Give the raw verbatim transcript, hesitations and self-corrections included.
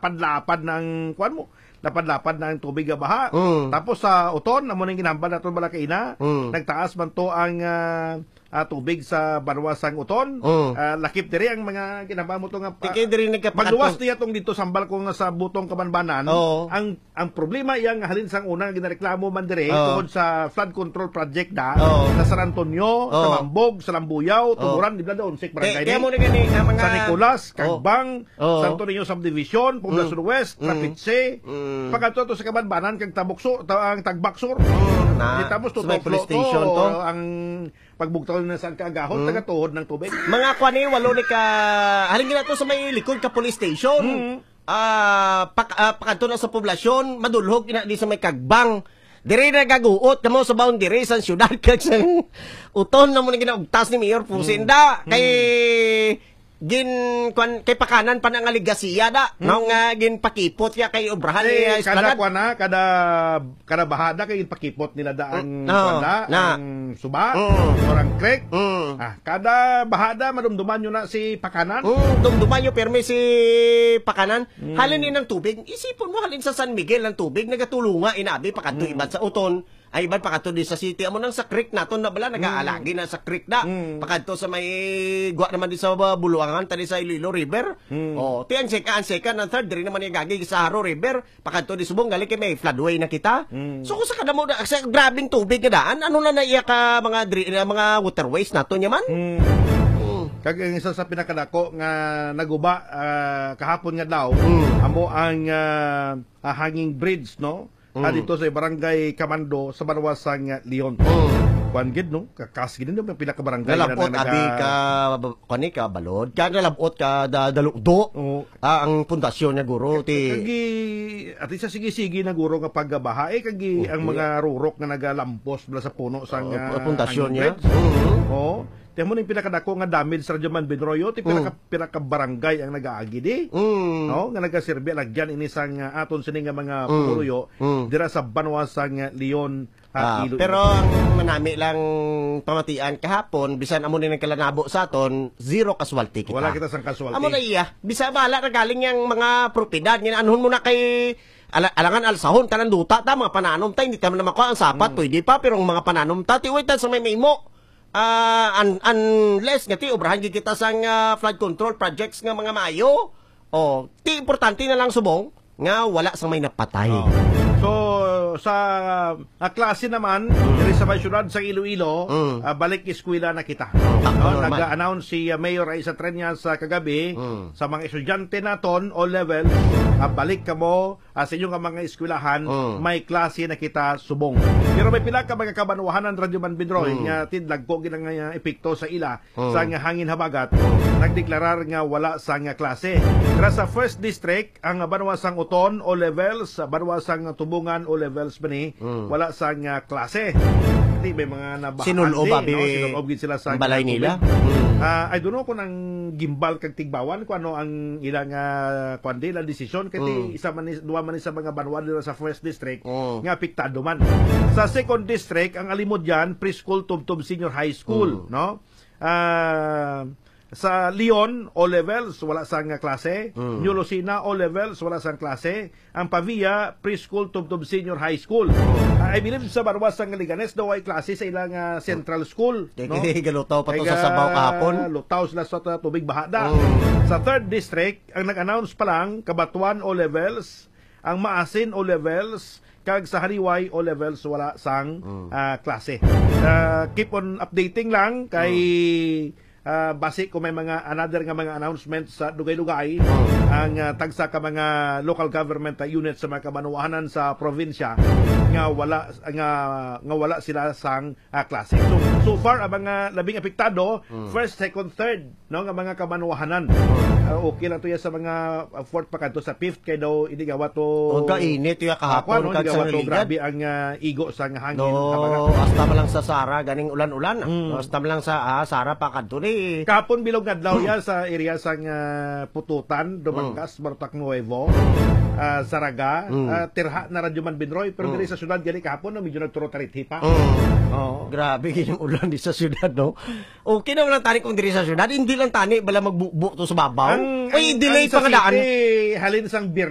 napadlapad na ang, kuwan mo, napadlapad na ang tubig nga baha. Mm. Tapos sa Oton, amo nang ginhambal naton bala kaina, Mm. nagtaas man to ang, ah, ah, tubig sa banwa sang Oton. Mm. Ah, lakip diri ang mga ginhambal mo to nga pa-, Tikay diri nagkapakato. magluwas niya tong dito sambal ko nga sa Butong Kabanbanan. Oo. Ang, ang problema iya nga halin sang una nga ginareklamo man diri Oo. tungod sa flood control project da Oo. sa San Antonio, sa Oo. Mambog, sa Lambuyaw, Oo. Tuburan, di ba doon, si Kaya, barangay kaya ni? mo na gani, ang mga San Nicolas, Oo. Kagbang, Oo. Santo Niño Subdivision, Poblacion Mm. West, Mm. Trapiche, Mm. pagkadto to sa Kabanbanan, kag Tabukso, ta-, ang Tagbak Sur. Mm, na. Kita mo, Sa may tutok police to, station to. ang pagbugtaw na sa kaagahon, Mm. tagatuhod ng tubig. Mga kwan eh, walo ni ka, halin gina to sa may likod ka police station. Mm. Ah, pak-, ah, pakadto na sa poblasyon, madulhog ina di sa may Kagbang. Diri nagaguot kamo sa boundary sa siyudad kag sa Oton na mo na ginaugtas ni Mayor Pusin Mm. da. Kay Mm. gin-, kwan, kay pakanan pa na nga legasiya da, no, Mm. nga ginpakipot niya kay obrahan Eh, ni, ah, kada Esplanade. kwan na, kada, kada bahada kay ginpakipot nila da ang Mm, no, kwan da, na. ang suba, Mm. or ang creek. Mm. Ah, kada bahada, madumduman nyo na si pakanan. Mm, dumduman nyo, pirmi si pakanan. Mm. Halin ni ng tubig, isipon mo, halin sa San Miguel ang tubig, nagatulunga, inabi, pakadto Mm. iban sa Oton. Ay, iban pakadto di sa city. Amo nang sa creek naton na bala, nagaalagi Mm. na sa creek na. Mm. Pakadto sa may gwa naman di sa ba-, Buluangan, tani sa Iloilo River. Mm. Oh, ti ang seka-, ang second, ang third, diri naman yung gagi sa Jaro River. Pakadto di subong, gali kay may floodway na kita. Mm. So, kung sa kadamo na, sa grabing tubig nga daan, ano na na iya ka mga dri-, na mga waterways naton yaman? Mm. Mm. Kag ang isa sa pinakadako nga naguba, ah, kahapon nga daw, Mm. amo ang, ah, ah, hanging bridge, no? Ah, Mm. dito sa Barangay Kamando, sa Banwa sang, ah, Leon. Mm. Kuwan gid, no? Kakas gid, no? Ang pinakabarangay na Nalabot, naga- abi ka, kani ka, balod. Kaya nalabot ka, da-, dalukdo. Oo. Ah, ang pundasyon niya, guro, ti Kagi, at least sa sige-sige na, guro, nga paggabaha, eh, kagi Okay. ang mga rurok nga nagalampos bala sa puno sang, Oh, ah, pundasyon hanging niya? bridge. Mm. Oo. Tiyan mo na yung pinakadako nga damage sa Radyo Man Benroyo, ti Mm. pinaka-, pinakabarangay ang nag-aagi di. Mm. No? Nga nagaserbi, alagyan ini sang, ah, aton sini nga mga Mm. pumuruyo, Mm. dira sa banwa sang, ah, Leon, ah, Ah, Iloilo. pero ang manami lang pamatian kahapon, bisan amo ni nagkalanabo sa aton, zero casualty kita. Wala kita sang casualty. Amo na iya, bisa bala na galing yang mga propiedad, nga anhon mo na kay ala-, alangan alsahon, tanan duta ta, mga pananom ta, hindi ta man na makuha ang sapat, Mm. pwede pa, pero ang mga pananom ta, tiway ta sa may maimo. Ah, un-, unless nga ti obrahan gid kita sang, ah, flood control projects nga mga maayo, oh, ti importante na lang subong nga wala sang may napatay. Oh. So, sa, ah, klase naman, Mm. diri sa may syudad sa Iloilo, Mm. ah, balik eskwela na kita. Oh, No, normal. nag-announce si, ah, Mayor Raisa Treñas sa kagabi Mm. sa mga estudyante naton, all levels, ah, balik kamo ah, sa inyo nga mga eskwelahan, Mm. may klase na kita subong. Pero may pila ka mga kabanwahanan, Radyo Man Binroy, Mm. nga tidlag ko gid ang, ah, epekto sa ila Mm. sa nga hangin habagat, nagdeklarar nga wala sa nga klase. Pero sa first district, ang banwa sang Oton, O levels, banwa sang Tubungan, O levels pa ni, Mm. wala sa nga klase. Di may mga nabahaan Sinulob, di, abi, no? Sinulob gid sila sa ang balay nga nila. tubig. Mm. Ah, I don't know kung ang gimbal kag tigbawan kung ano ang ilang, ah, kwan di, ilang desisyon. Kay ti Mm. isa man ni, duha man ni sa mga banwa dira sa first district Mm. nga apektado man. Sa second district, ang Alimodian Preschool tubtob Senior High School, Mm. no? Ah, sa Leon, O levels, wala sang klase. Mm. New Lucena, O levels, wala sang klase. Ang Pavia, Preschool tubtob Senior High School. Ah, I believe sa banwa sang Leganes daw ay klase sa ilang, ah, Central School, Kay, no? kay galutaw pa to Kay sa sabaw ga-, kahapon. lutaw sila sa ta-, tubig bahada. Mm. Sa third district, ang nag-announce pa lang, Cabatuan O levels, ang Maasin O levels, kag sa Haliway O levels wala sang, Mm. ah, klase. Ah, keep on updating lang kay, Mm. ah, basi kung may mga another nga mga announcement sa dugay-dugay, Mm. ang, ah, tagsa ka mga local government, ah, unit sa mga kabanwahanan sa probinsya nga wala, nga, nga wala sila sang ah, klase. So, so far, ang mga labing apektado, Mm. first, second, third, no, nga mga kabanwahanan. Mm. Ah, okay lang to yan sa mga, ah, fourth pa kadto sa fifth, kay daw hindi gawa to, Ang kainit, ya, ah, kahapon, kuwan, no, kag hindi sa gawa to, Naligan. grabe ang, ah, igo sa nga hangin, No, habagat. hasta man lang sa Sara, ganing ulan-ulan, ah. Mm. Hasta man lang sa, ah, Sara pa kadto ni. Kahapon, bilog nga adlaw, Mm. ya, sa area sa nga Pututan, Dumangas, Mm. Barotac Nuevo, ah, Saraga, Mm. ah, tirha na Radyo Man Binroy, pero Mm. diri sa syudad, gani kahapon, no, medyo nagturo-tarithi pa. Mm. Oo. Grabe, gid ang ulan di sa syudad, no? Okay naman lang tani kung diri sa syudad, hindi lang tani bala magbubo to sa babaw. Ang, Uy, ang, delay ang sa pa nga daan. city, halin sang Biyernes,